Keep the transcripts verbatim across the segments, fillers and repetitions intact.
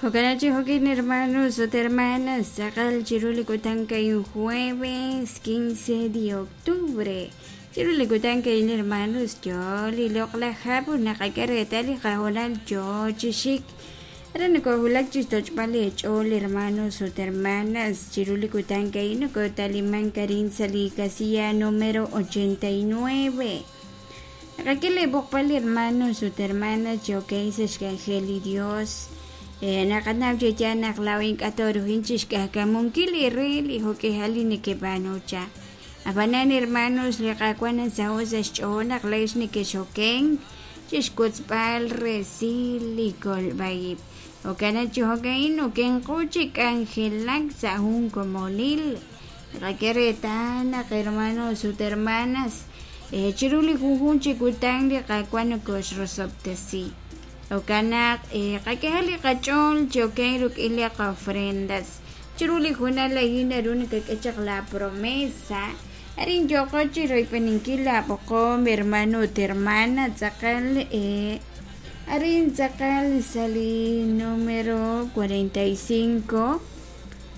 Jokanachi jokin hermanos ut hermanas, tz'aqal chiru li kutan ka'in jueves quince de octubre. Chiru li kutan ka'in hermanos yo li loq'laj hab' ut naqak'e reetal li qahonal yo chi xik. Ara nokohulak chixtoch'b'al eech'ool hermanos ut hermanas chiru li kutan ka'in nokotaliman karin sa' li casilla número ochenta y nueve. Naqak'e li b'oqb'al hermanos ut hermanas chokey sa' xk'anjel li Dios. Naqanaw che ya naq law ink'atoruhin chixk'ajkamunkil li re li jok'ejal li nekeb'aanucha. Ab'anan hermanos li qaawa' nasaho' sa' xch'ool naq leex nekexoken chixkotzb'al resil li kolb'aib'. Jo'kan chi jo'ka'in okenqu chi k'anjelak sa' jun komonil. Naqak'e reetal naq hermanos ut hermanas chiru li junjun chi kutan li qaawa' nokoxrosob'tesi. Jo'kan naq qak'ehal li qach'ool chi oken ruk'in li qofrendas. Chiru li junal a'in naru nakak'e chaq la promesa. Arin yoqo chi royb'eninkil la b'oqom hermano ut hermana tz'aqal arin tz'aqal sa' li número cuarenta y cinco,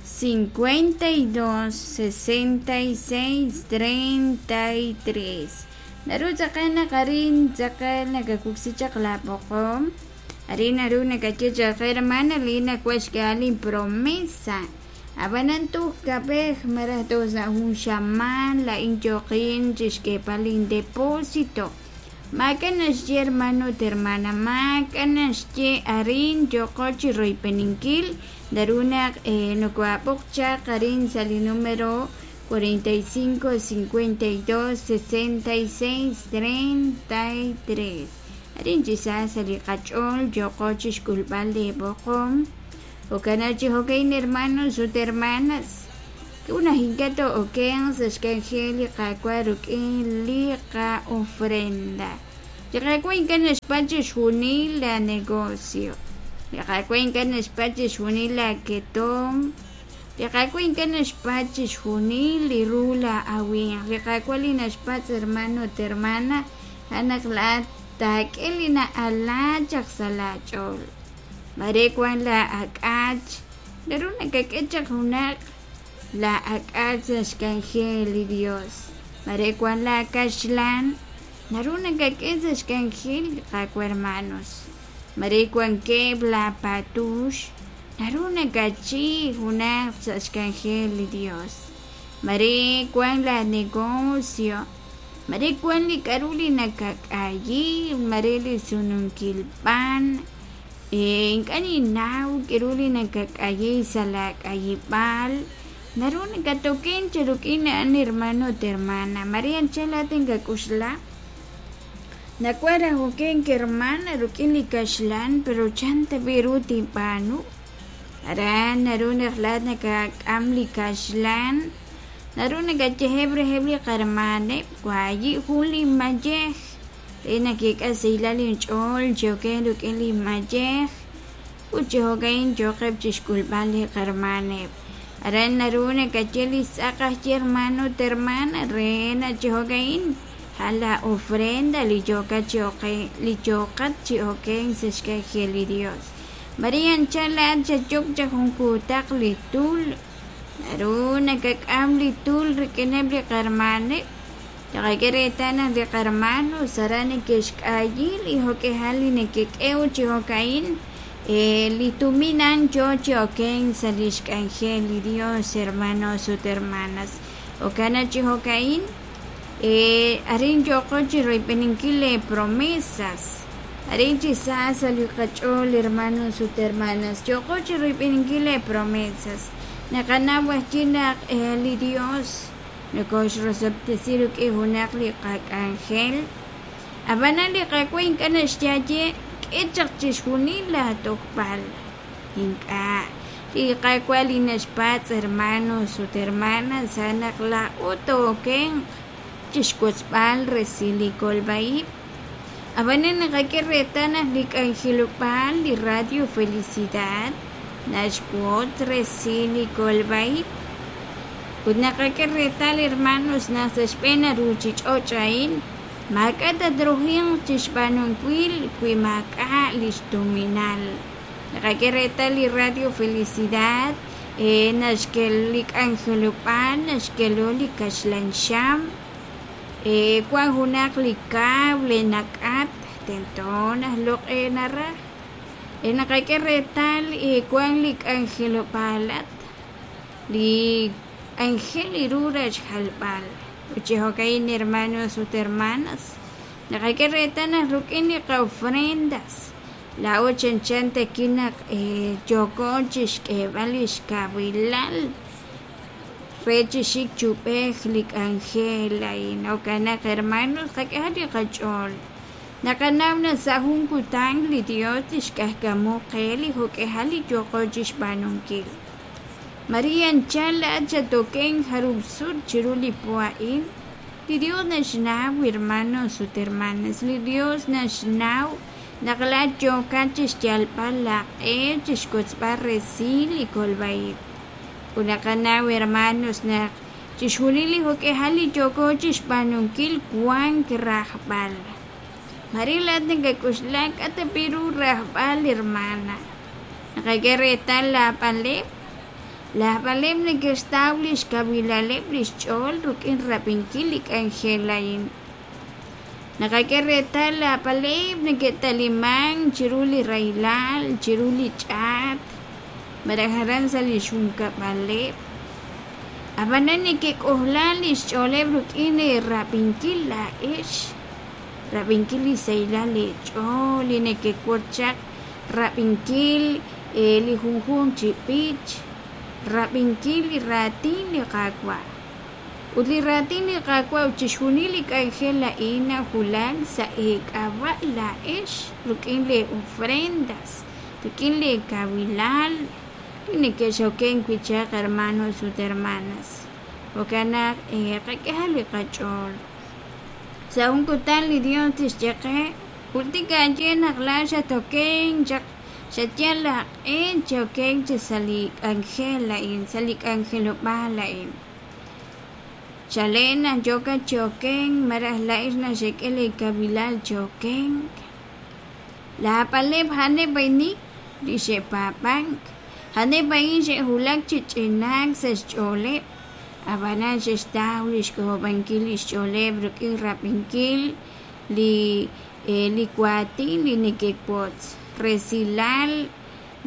cincuenta y dos, sesenta y seis, treinta y tres. Naru tz'aqal naq arin tz'aqal nakakuksi chaq la b'oqom. Arin naru nakaye chaq hermana li nakuax k'alin promesa. Ab'anan tuj kab'ej maraj tuj sa' jun xamaan la inyoqin chixk'eeb'al depósito. Maak'a' naxye hermano ut hermana, maak'a' naxye arin yoqo chi royb'eninkil naru naq nokoab'oq chaq arin sa' li número cuarenta y cinco, cincuenta y dos, sesenta y seis, treinta y tres. Arin chi sa sa' li qach'ool yoqo chixk'ulb'al li b'oqom. Jo'kan chi jo'kan hermanos ut hermanas. Una hinkato oken sa' xk'anjel li qaawa' ruk'in li qa'ofrenda. Li qaawa' ink'a' naxpatz' chixjunil la negocio. Li qaawa' ink'a' naxpatz' chixjunil la ketom. Li qaawa' ink'a' naxpatz' chixjunil li ru la awinq. Li qaawa' li naxpatz' hermano ut hermana a'an naq laa'at taak'e li na'ala chaq sa' laach'ool. Mare wan la ak'ach naru nakak'e chaq junaq la ak'ach sa' xk'anjel li Dios. Mare wan la kaxlan naru nakak'e sa' xk'anjel li qaawa' hermanos. Mare wan keb' la patux naru nakachi junaq sa' xk'anjel li Dios. Mare wan la negocio, mare wan li k'aru li nakak'ayi, mare li sununkil b'an. Ink'a' ninnaw k'aru li nakak'ayi sa' la k'ayib'al. Naru nakatoken chi ruk'in a'an hermano ut hermana. Mare anchal laat inkak'uxla. Nakuaj oken hermana ruk'in li kaxlan pero chan tab'i ru tinb'aanu. Aran naru naq laat nakak'am li kaxlan. Naru nakayeheb' reheb' li qarmaneb' wayi' jun li mayej. Re nakik'as sahilal inch'ool chi oken ruk'in li mayej. Ut chi jo'kan yoqeb' chixk'ulb'al li qarmaneb'. Aran naru nakaye li tz'aq aj hermano ut hermana re na chi jo'kan a la ofrenda li yoqat chi oken li yoqat chi oken sa' xk'anjel li Dios. Maria anchal laat xayok chaq jun kuutaq li tul. Naru nakak'am li tul rik'ineb' li qarmaneb'. Taqak'e reetal naq li qarmanos aran neke'xk'ayi li jok'ejal li nekek'ew chi jo'ka'in li tuminan yo chi oken sa' li xk'anjel li Dios hermanos ut hermanas. Jo'kan chi jo'ka'in arin yoqo chi royb'eninkil le promesas. Arin chi sa sa' li qach'ool hermanos ut hermanas yoqo chi royb'eninkil le promesas. Naqanaw ajwi' naq li Dios nokoxrosob'tesi ruk'in junaq li qak'anjel. Ab'anan li qaawa' ink'a' naxyaye k'e chaq chixjunil la tojb'al. Ink'a' li qaawa' li naxpatz' hermanos ut hermanas a'an naq laa'o tookenq chixkotzb'al resil li kolb'aib'. Ab'anan naqak'e reetal naq li k'anjelob'aal li Radio Felicidad naxwotz resil li kolb'aib'. Ut naqak'e reetal hermanos naq sa' xb'een ruchich'och' a'in maak'a' tatruhinq chixb'aanunkil wi maak'a' lix tuminal. Naqak'e reetal li Radio Felicidad eh, naxkel li k'anjelob'aal naxkelo li kaxlan xam eh, wan junaq li cable nak'at tento najloq'e naraj eh, naqak'e reetal eh, wan li k'anjelob'aalat li k'anjel iru rachjalb'al ut chi jo'ka'in hermanos ut hermanas naqak'e reetal naq ruk'in li qa'ofrendas laa'o chanchan takin naq eh, yooko chixk'eeb'al li xkawilal re chixik chub'ej li k'anjel a'in jo'kan naq hermanos qak'ehaq li qach'ool naqanaw naq sa' jun kutan li Dios tixk'ajkamu qe li jo'k'ehal li yooqo chixb'aanunkil María anchal laat xatoken jarub sut chiru li po a'in li Dios naxnaw hermanos ut hermanas li Dios naxnaw naq laat yookat chixyalb'al laq'e chixkotzb'al resil li kolb'a'ib' ut naqanaw hermanos naq chixjunil li jo'k'ehal li yooko chixb'aanunkil wan rajb'al María laat nakak'uxla k'a' ta pi ru rajb'al hermana naqak'e reetal laab'aleb' laab'aleb' neke'xtaw li xkawilaleb' li xch'ool ruk'in rab'inkil li k'anjel a'in naqak'e reetal laab'aleb' neke'taliman chiru li rahilal chiru li ch'aat malaj aran sa' li xjunkab'aleb' ab'anan neke'k'ojla li xch'ooleb' ruk'in rab'inkil laa'ex rab'inkil li sahilal leech'ool li neke'wot chaq rab'inkil eh, li junjunq chi b'ich rab'inkil li raatin li Qaawa' ut li raatin li Qaawa' ut chixjunil li k'anjel a'in nawulak sa' eek'ab'a' laa'ex ruk'in lee ofrendas ruk'in lee kawilal li neke'xoken wi' chaq hermanos ut hermanas jo'kan naq eh, qak'ehaq li qach'ool sa' jun kutan li Dios tixye qe jultik aaye naq laat xatoken chaq xatyal laq'e choken chi sa' li k'anjel a'in sa' li k'anjelob'aal a'in chalen naq yookat choken malaj laa'ex naxek'e li kawilal choken laab'aleb' a'aneb' a'in li xe'paab'ank a'aneb' a'in xe'wulak chi ch'inaak sa' xch'ooleb' ab'anan xe'xtaw li xk'ojob'ankil li xch'ooleb' ruk'in rab'inkil li eh, li waatin li neke'wotz resilal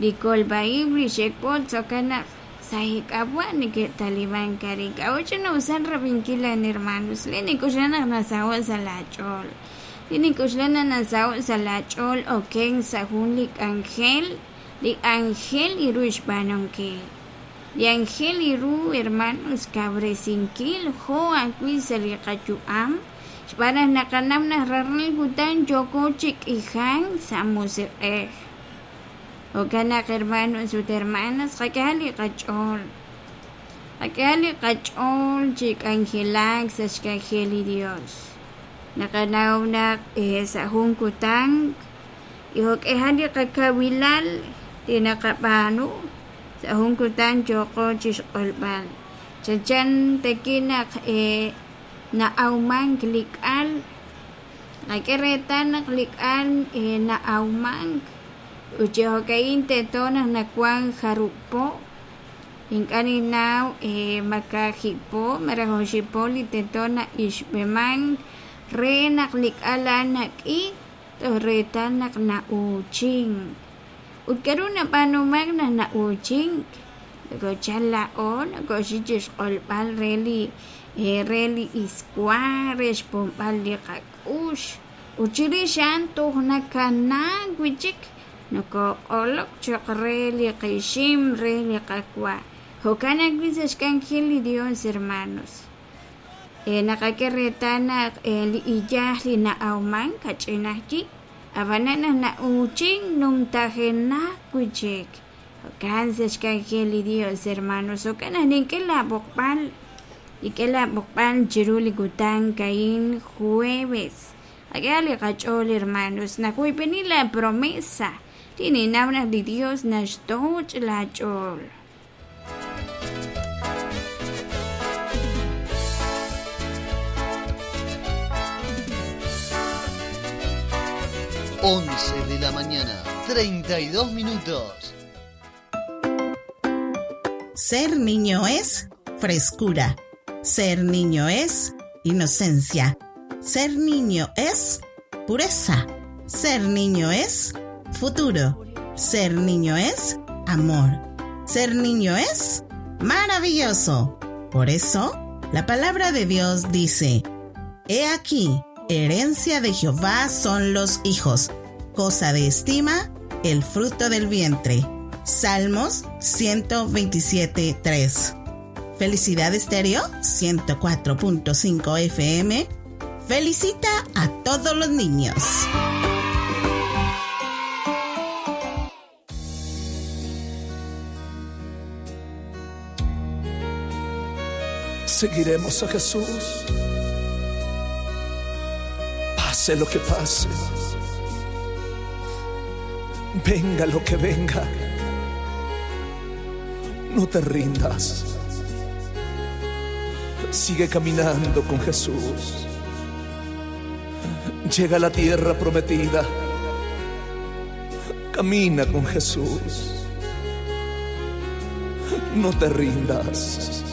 li kolb'a'ib' li xe'wotz jo'kan naq sa' eek'ab'a' neke'talimank arin k'a'ut ch'ina'usal rab'inkil lan hermanos li nik'uxla naq nasaho' sa' laach'ool li nik'uxla naq nasaho' sa' laach'ool oken sa' jun li k'anjel li k'anjel iru xb'aanunkil li anjel iru hermanos kawresinkil jo' ajwi' sa' li qayu'am xb'aan naq naqanaw naq rajlal kutan yooko chi k'ijan sa' musiq'ej jo'kan naq hermanos ut hermanas qak'ehaq li qach'ool qak'ehaq li qach'ool chi k'anjelak sa' xk'anjel li Dios naqanaw naq eh, sa' jun kutan y jo'k'ehal li qakawilal li naqab'aanu sa' jun kutan yooqo chixq'olb'al chanchan takin naq eh, na'awmank li k'al qak'e reetal naq li k'al eh, na'awmank ut chi jo'ka'in tento naq nawan jarub' po ink'a' ninnaw eh, ma kaajib' po malaj oxib' po li tento na'ixb'emank re naq li k'al a'an nak'i toj reetal naq na'uuchink ut k'aru nab'aanumank naq na'uuchink nokochal laa'o nokoxik chixq'olb'al re li eh, re li iswa re xpomb'al li qak'ux ut chirix a'an toj nakanaak wi' chik nokoq'olok cho'q re li qixim re li qawa jo'kan ajwi' sa' xk'anjel li Dios hermanos eh, naqak'e reetal naq eh, li iyaj li na'awman kach'in ajwi' ab'anan naq na'uuchink numtajenaq wi' chik jo'kan sa' xk'anjel li Dios hermanos jo'kan naq nink'e laab'oqb'al nink'e laab'oqb'al chiru li kutan ka'in jueves qak'ehaq li qach'ool hermanos naq wiib'eni la promesa li ninnaw naq li Dios naxtoch' laach'ool Once de la mañana, treinta y dos minutos. Ser niño es frescura. Ser niño es inocencia. Ser niño es pureza. Ser niño es futuro. Ser niño es amor. Ser niño es maravilloso. Por eso, la palabra de Dios dice: He aquí, herencia de Jehová son los hijos, cosa de estima, el fruto del vientre. Salmos ciento veintisiete, tres. Felicidad Estéreo ciento cuatro punto cinco F M felicita a todos los niños. Seguiremos a Jesús, pase lo que pase, venga lo que venga, no te rindas, sigue caminando con Jesús, llega a la tierra prometida, camina con Jesús, no te rindas.